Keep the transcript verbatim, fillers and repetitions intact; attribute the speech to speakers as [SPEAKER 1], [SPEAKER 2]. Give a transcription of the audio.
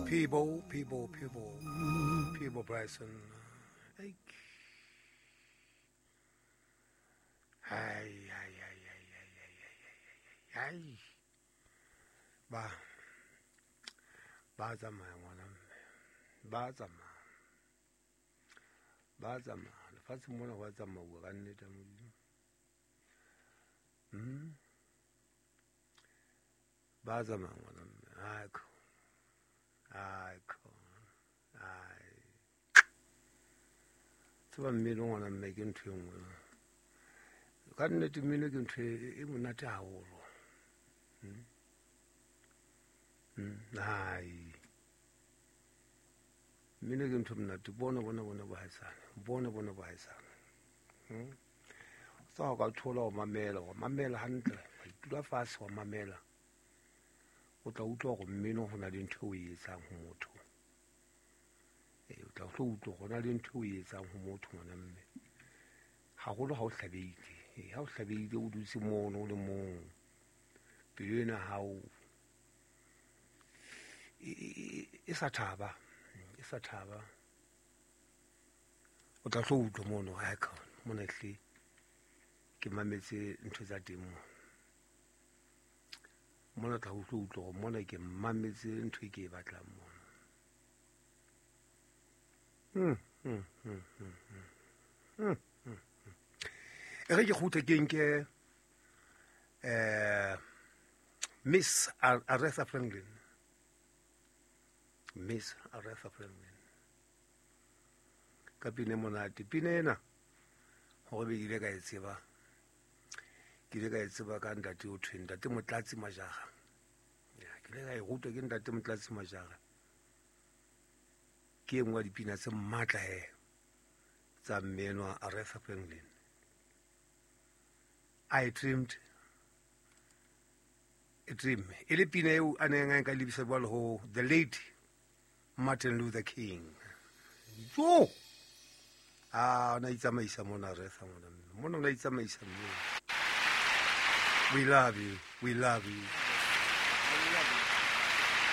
[SPEAKER 1] Peabo, Peabo, Peabo, Peabo Bryson. Ai, ai, ai, ai, ai, ai, ai, ai. Ba, ba tsamaya ngwana mme, ba tsamaya, ba tsamaya. Lefatsheng mona ho a tsamauwa ka nnete ya Modimo. Hmm? Ba tsamaya ngwana mme. Ai, kho. Ai, kho. Ai. Tseba mmino ngwana mme ke ntho e nngwe. Ka nnete mmino ke ntho e monate haholo. Hmm? Hmm. Ai. Mmino ke ntho e monate. Bona, bona, bona bohaisane. Bona, bona bohaisane. Hmm? Tsa ho ka thola ho mamela, wa mamela hantle, wa itula fatshe wa mamela. O tla utlwa hore mmino ho na le ntho eo o e etsang ho motho. Eh, o tla tlo utlwa hore ho na le ntho eo o e etsang ho motho ngwana mme. Haholo ha o hlabehile. Eh, ha o hlabehile o dutse mono o le mong. Pelo ena hao e, e, e sa thaba, e sa thaba. O tla tlo utlwa mono, ai ka mona hle ke mametse ntho tsa teng mo. Mona tla utlwa utlwa hore mona ke mametse ntho e ke e batlang mona. Hmm, hmm, hmm, hmm, hmm. Hmm, hmm, hmm. E re ke kgutle ke nke, eh, Miss Aretha Franklin. Miss Aretha Franklin. Ka pina e monate. Pina ena, hore be ke ile ka e tseba. Ke ile ka e tseba ka ntate o thweng, ntate Motlatsi Majara. Ya, ke ile ka e rutwa ke ntate Motlatsi Majara. Ke e nngwe ya dipina tse matla he tsa mme enwa Aretha Franklin. I dreamed a dream. E le pina eo a neng a nka lebisa jwalo ho the late Martin Luther King. Jo! Ah, o na itsamaisa mona Aretha mona. Mona o na itsamaisa mme. We love you. We love you.